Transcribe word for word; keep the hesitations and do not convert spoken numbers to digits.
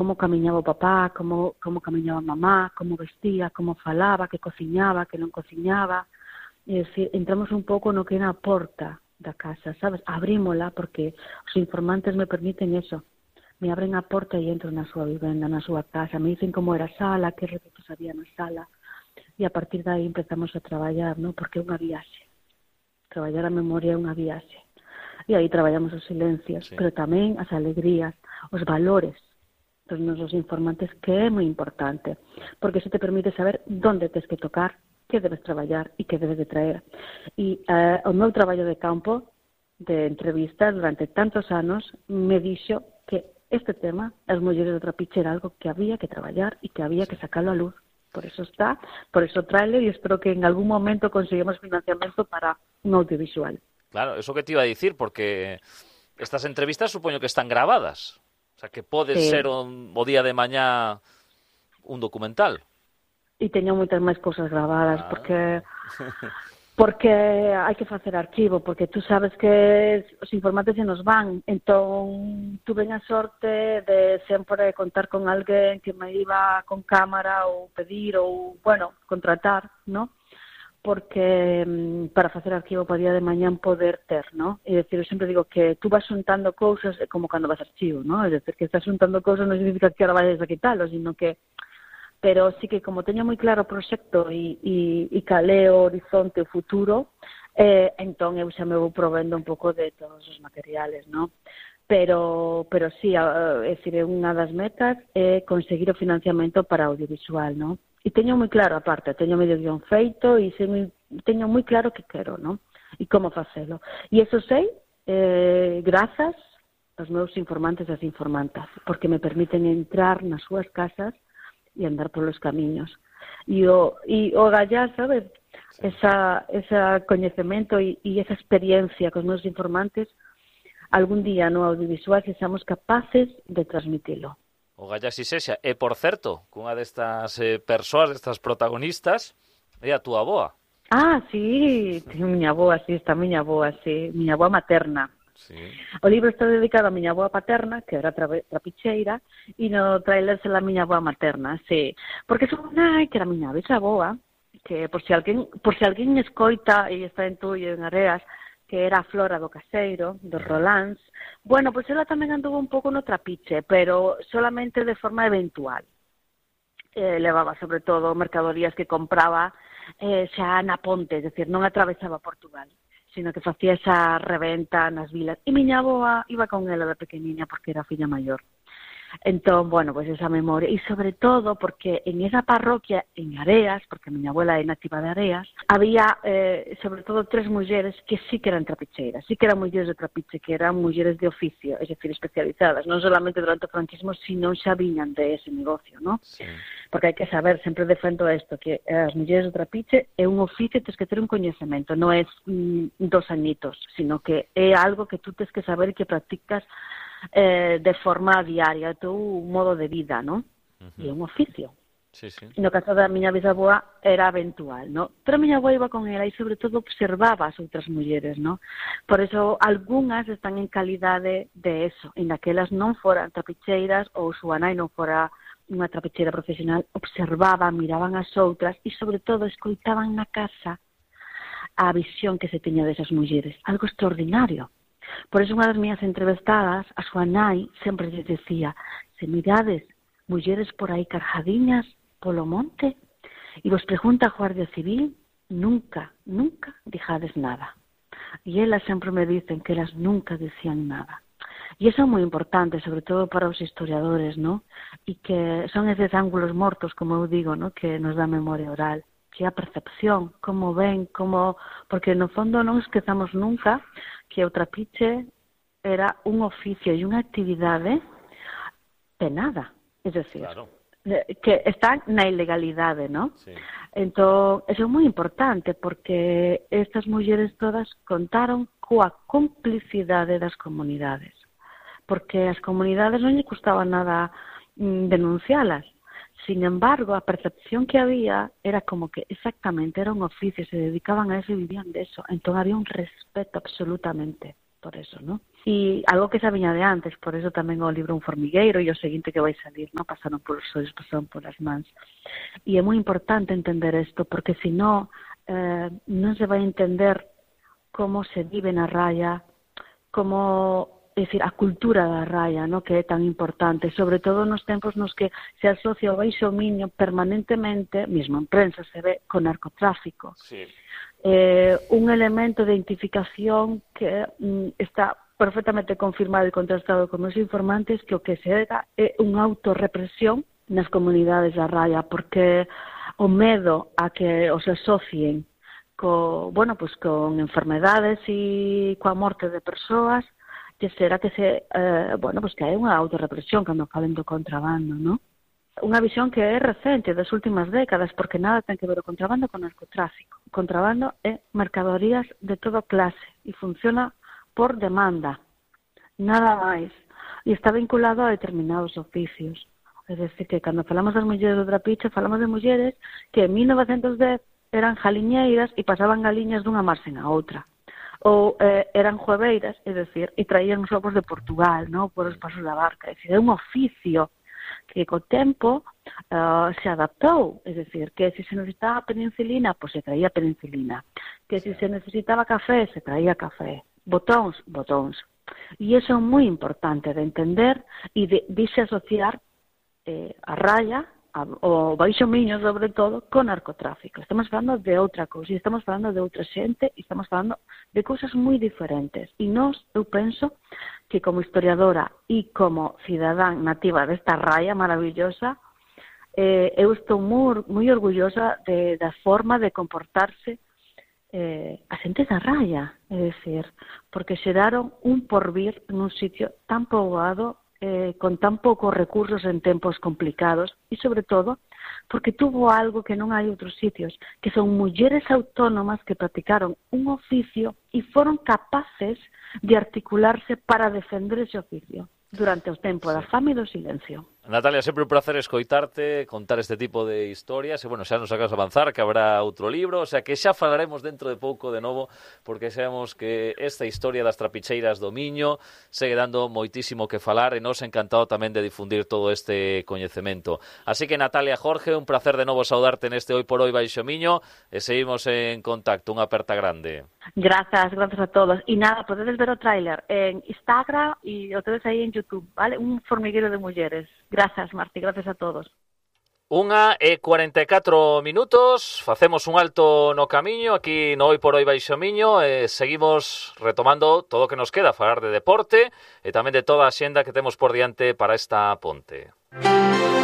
como camiñaba o papá, como, como camiñaba a mamá, como vestía, como falaba, que cociñaba, que non cociñaba. É dicir, entramos un pouco no que é na porta da casa, sabes? Abrímola porque os informantes me permiten eso. Me abren a porta e entro na súa vivenda, na súa casa. Me dicen como era a sala, que retratos había na sala. E a partir de aí empezamos a traballar, ¿no? Porque é unha viaxe. Traballar a memoria é unha viaxe. E aí traballamos os silencios, sí. Pero tamén as alegrías, os valores dos nosos informantes, que é moi importante, porque eso te permite saber onde tens que tocar, que debes traballar e que debes de traer. E uh, o meu traballo de campo, de entrevistas durante tantos anos, me dixo que este tema, as mulleres do trapiche, era algo que había que traballar e que había que sacarlo a luz. Por eso está, por eso tráele e espero que en algún momento consigamos financiamento para un audiovisual. Claro, eso que te iba a dicir, porque estas entrevistas supoño que están grabadas. O sea, que pode sí. ser un, o día de mañá un documental. E teño moitas máis cousas grabadas, ah. porque porque hai que facer arquivo, porque tú sabes que os informantes se nos van, entón tuve a sorte de sempre contar con alguén que me iba con cámara ou pedir ou, bueno, contratar, ¿no? Porque para facer arquivo para día de mañán poder ter, ¿no? E decir, eu sempre digo que tú vas xuntando cousas como cando vas archivo, ¿no? É decir, que estás xuntando cousas non significa que ahora vayas a quitalo, sino que pero sí que como teño moi claro o proxecto e, e, e calé o horizonte, o futuro, eh, entón eu xa me vou provendo un pouco de todos os materiales, ¿no? Pero, pero sí, é dicir, unha das metas é conseguir o financiamento para audiovisual, ¿no? E teño moi claro, aparte, teño medio guión feito e sei, teño moi claro que quero, ¿no? E como facelo. E eso sei, eh, grazas aos meus informantes e as informantas, porque me permiten entrar nas súas casas e andar polos camiños. E o, e o gallar, sabes, esa, esa coñecemento e, e esa experiencia cos meus informantes, algún día no audiovisual que seamos capaces de transmitilo. O galla si sexa. E, por certo, cunha destas eh, persoas, destas protagonistas, é a túa avoa. Ah, sí, miña avoa, sí, está miña avoa, sí, miña avoa materna. Sí. O libro está dedicado a miña avoa paterna, que era tra trapicheira, e no trailer se la miña avoa materna, sí. Porque son nai que era miña bisavoa, que por si alguén, por si alguén escoita e está en Tullo, en Areas, que era a Flora do Caseiro, dos Rolands. Bueno, pois pues ela tamén anduvo un pouco no trapiche, pero solamente de forma eventual. Eh, levaba, sobre todo, mercadorías que compraba eh, xa na ponte, é dicir, non atravesaba Portugal, sino que facía esa reventa nas vilas. E miña avoa iba con ela de pequeniña porque era filla maior. Entón, bueno, pois pues esa memoria. E sobre todo porque en esa parroquia, en Areas, porque a miña abuela é nativa de Areas, había, eh, sobre todo, tres mulleres que sí que eran trapicheiras, sí que eran mulleres de trapiche, que eran mulleres de oficio, é dicir, especializadas, non solamente durante o franquismo, sino xa viñan de ese negocio, ¿no? Sí. Porque hai que saber, sempre defendo isto, que as mulleres de trapiche é un oficio, tens que ter un coñecemento, non é mm, dos añitos, sino que é algo que tú tens que saber e que practicas Eh, de forma diaria, teu modo de vida, ¿no? Uh-huh. E é un oficio. Sí, sí. No caso da miña bisavoa era eventual, ¿no? Pero a miña avoa iba con ela e sobre todo observaba as outras mulleres, ¿no? Por eso algunhas están en calidade de eso, en daquelas non foran trapicheiras ou súa nai non fora unha trapicheira profesional, observaban, miraban as outras e sobre todo escoitaban na casa a visión que se teña desas mulleres, algo extraordinario. Por eso unha das miñas entrevistadas, a súa nai, sempre lles decía, se mirades mulleres por aí carjadiñas polo monte e vos pregunta a Guardia Civil, nunca, nunca dijades nada. E elas sempre me dicen que elas nunca decían nada. E iso é moi importante, sobre todo para os historiadores, ¿no? E que son eses ángulos mortos, como eu digo, ¿no? Que nos dá memoria oral, que a percepción, como ven, como... Porque no fondo non esquezamos nunca que o trapiche era un oficio e unha actividade penada, é dicir, claro, que está na ilegalidade, ¿no? Sí. Entón, eso é moi importante porque estas mulleres todas contaron coa complicidade das comunidades, porque as comunidades non lle custaba nada mm, denuncialas. Sin embargo, a percepción que había era como que exactamente era un oficio, se dedicaban a eso e vivían de eso. Entón había un respeto absolutamente. por eso, ¿no? E algo que xa viña de antes, por eso tamén o libro Un formigueiro e o seguinte que vai salir, ¿no? Pasaron por os ollos, pasaron por as mans. E é moi importante entender isto, porque se non, eh, non se vai entender como se vive na raya, como, é dicir, a cultura da raya, ¿no? Que é tan importante, sobre todo nos tempos nos que se asocia o baixo miño permanentemente, mesmo en prensa se ve, con narcotráfico. Sí. Eh, un elemento de identificación que mm, está perfectamente confirmado e contrastado con os informantes que o que se dá é unha autorrepresión nas comunidades da raya, porque o medo a que os asocien co, bueno, pues con enfermedades e coa morte de persoas, que será que se, eh, bueno, pues que hai unha autorrepresión cando falen do contrabando, ¿no? Unha visión que é recente das últimas décadas, porque nada ten que ver o contrabando con narcotráfico. O contrabando é mercadorías de toda clase e funciona por demanda, nada máis, e está vinculado a determinados oficios. É dicir, que cando falamos das mulleres do Trapiche, falamos de mulleres que en mil novecentos dez eran jaliñeiras e pasaban galiñas dunha marxen a outra. Ou eh, eran jueveiras, é dicir, e traían os ovos de Portugal, ¿no? Por os pasos da barca. É dicir, é un oficio que co tempo uh, se adaptou, é dicir, que se se necesitaba penicilina, pois se traía penicilina, que se se necesitaba café, se traía café, botóns, botóns. E iso é moi importante de entender e de, de se asociar eh, a raya, a, o baixo miño sobre todo, con narcotráfico. Estamos falando de outra cousa, e estamos falando de outra xente, e estamos falando de cousas moi diferentes. E nós, eu penso, que como historiadora e como cidadán nativa desta raya maravillosa, eh, eu estou moi, moi orgullosa de, da forma de comportarse eh, a xente da raya, é dicir, porque xeraron un porvir nun sitio tan poboado, eh, con tan poucos recursos en tempos complicados, e sobre todo, porque tuvo algo que non hai outros sitios, que son mulleres autónomas que practicaron un oficio e foron capaces de articularse para defender ese oficio durante o tempo da fame e do silencio. Natalia, sempre un placer escoitarte, contar este tipo de historias, e, bueno, xa nos acabas de avanzar, que habrá outro libro, o sea, que xa falaremos dentro de pouco de novo, porque sabemos que esta historia das trapicheiras do Miño segue dando moitísimo que falar, e nos encantado tamén de difundir todo este coñecemento. Así que, Natalia, Jorge, un placer de novo saudarte neste Hoy por Hoy Baixo Miño, e seguimos en contacto. Unha aperta grande. Grazas, grazas a todos. E nada, podedes ver o tráiler en Instagram e o tedes aí en YouTube, vale? Un formigueiro de mulleres. Grazas, Marti, grazas a todos. Unha e cuarenta e catro minutos, facemos un alto no camiño aquí no Hoy por Hoy Baixo Miño e seguimos retomando todo o que nos queda, falar de deporte e tamén de toda a xenda que temos por diante para esta ponte.